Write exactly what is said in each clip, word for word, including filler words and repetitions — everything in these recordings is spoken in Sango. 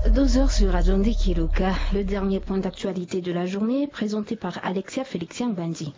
Douze heures sur Radio Ndeki Luka, le dernier point d'actualité de la journée, présenté par Alexia Félixien Bandi.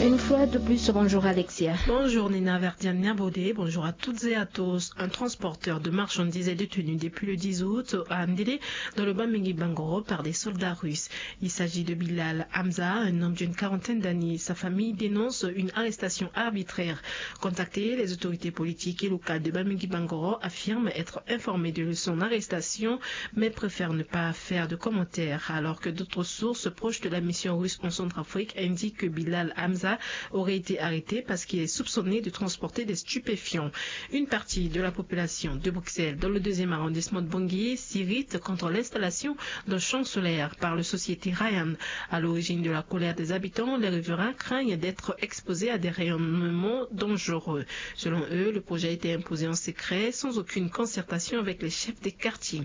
Une fois de plus, bonjour Alexia. Bonjour Nina Verdiania Bodé, bonjour à toutes et à tous. Un transporteur de marchandises est détenu depuis le dix août à Ndélé, dans le Bamingui Bangoro, par des soldats russes. Il s'agit de Bilal Hamza, un homme d'une quarantaine d'années. Sa famille dénonce une arrestation arbitraire. Contacté, les autorités politiques et locales de Bamingui Bangoro affirment être informés de son arrestation, mais préfèrent ne pas faire de commentaires, alors que d'autres sources proches de la mission russe en Centrafrique indiquent que Bilal Hamza aurait été arrêté parce qu'il est soupçonné de transporter des stupéfiants. Une partie de la population de Bruxelles, dans le deuxième arrondissement de Bangui, s'irrite contre l'installation d'un champ solaire par la société Ryan. À l'origine de la colère des habitants, les riverains craignent d'être exposés à des rayonnements dangereux. Selon eux, le projet a été imposé en secret, sans aucune concertation avec les chefs des quartiers.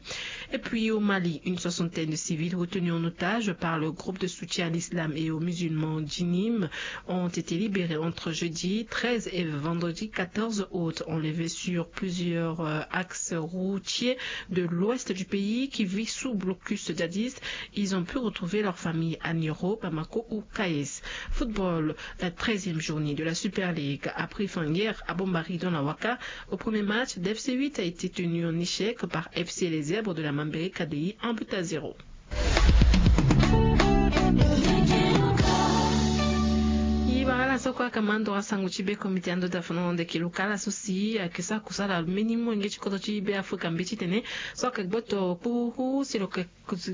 Et puis au Mali, une soixantaine de civils retenus en otage par le groupe de soutien à l'islam et aux musulmans Djinim ont été libérés entre jeudi treize et vendredi quatorze août, enlevés sur plusieurs, euh, axes routiers de l'ouest du pays qui vit sous blocus djihadiste. Ils ont pu retrouver leur famille à Nioro, Bamako ou Kayes. Football, la treizième journée de la Super League a pris fin hier à Bombari dans la Waka. Au premier match, D F C huit a été tenu en échec par F C Les Zèbres de la Mambéré K D I, un but à zéro. Ibara la so kue aka ma ndo asango ti be komite ando da fana na ndeke lokala so si ayeke sara kusala mbeni molenge ti kodro ti Be Afrika mbeti tene so ayeke gboto kpuku si lo yeke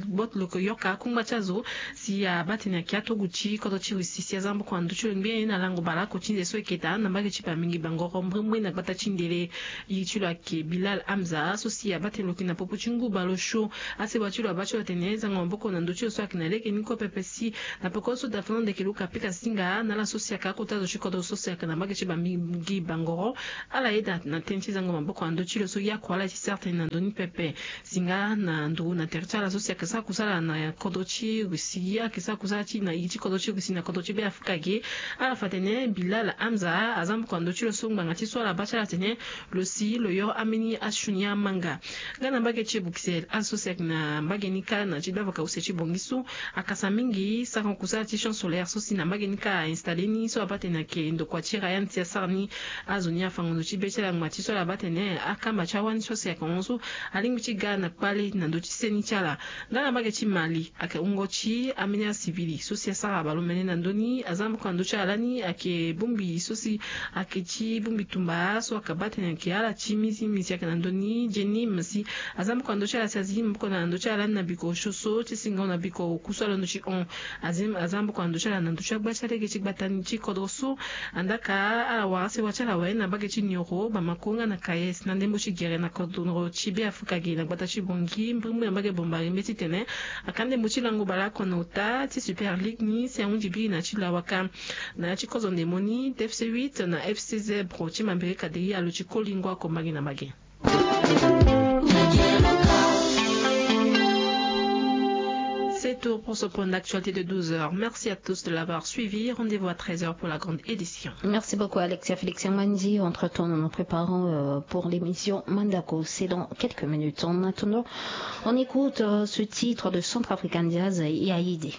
gboto lo yeke yoka akungba ti azo si abaa tene ayeke atogu ti kodro ti Russie si aza maboko na ndö ti lo ngbene na lango baleoko ti nze so ayeke daa na mbage ti Bamingui Bangoro mbrimbri na gbata ti Ndélé. Iri ti lo ayeke Bilal Hamza so si abaa tene lo yeke na popo ti ngu baleosio. Asewa ti lo abaa ti lo atene zango maboko na ndö ti lo so ayeke na lege ni kue pepe si na peko so da fana na ndeke luka apika zinga na ala so si ayeke akota zo ti kodro so si ayeke na mbage ti Bamingui Bangoro. Ala yeda na tënë ti zango maboko na ndö ti lo so ye oko ala ti sara tënë na ndö ni pepe. Zinga na nduru na tere ti ala so si ayeke sara kusala na kodro ti Russie, ayeke sara kusala ti na iri ti kodro ti Russie na kodro ti Be Afrika ge. Ala fa tene Bilal Hamza aza maboko na ndö ti lo so ngbanga ti so ala baa ti ala tene lo si lo yoro ambeni asioni amanga. Nga na mbage ti Bruxelles, azo so si ayeke na mbage ni kâ na ti gbavaka use ti Bongi so akasa mingi sara kusala ti champ solaire so si na mbage ni kâ a-installé ni so abaa tene ayeke ndokua ti Ryan si asara ni. Azo ni afango ndo ti be ti ala ngba ti so ala baa tene akamba ti awani so si ayeke hon so alingbi ti ga na kpale na ndö ti seni ti ala. Nga na mbage ti Mali, ayeke wungo ti ambeni asivili so si asara baleomene na ndö ni aza maboko na ndö ti ala lani ayeke bongbi so si ayeke ti bongbi tumba so ayeke baa tene ayeke ala ti mizimi si ayeke na ndö ni Djinim si aza maboko na ndö ti ala si azi maboko na ndö ti ala lani na biko osio so ti singo na biko oku so alondo ti hon. Azi aza maboko na ndö ti ala na ndö ti agba ti alege ti gbata ni ti kodro so. Andaa ka ala wara asewa ti ala awe na mbage ti Nioro, Bamako nga na Kayes na ndembo ti gere na kodro ti Be Afrika ge na gbata ti Bongi mbrimbri na mbage Bombari mbeti tene aka ndembo ti lango baleoko na ota ti Super League ni si ahunzi biri na ti lawaka. Na ya ti kozo ndembo ni, D F C huit na F C Zèbre ti Mambéré K D I alo ti koli ngua oko mbage na mbage. C'est tout pour ce point d'actualité de douze heures. Merci à tous de l'avoir suivi. Rendez-vous à treize heures pour la grande édition. Merci beaucoup, Alexia Félix Yamandi. Entre-temps, nous nous préparons, euh, pour l'émission Mandako. C'est dans quelques minutes. En attendant, on écoute, euh, ce titre de Centrafrican Jazz, Yaïdé.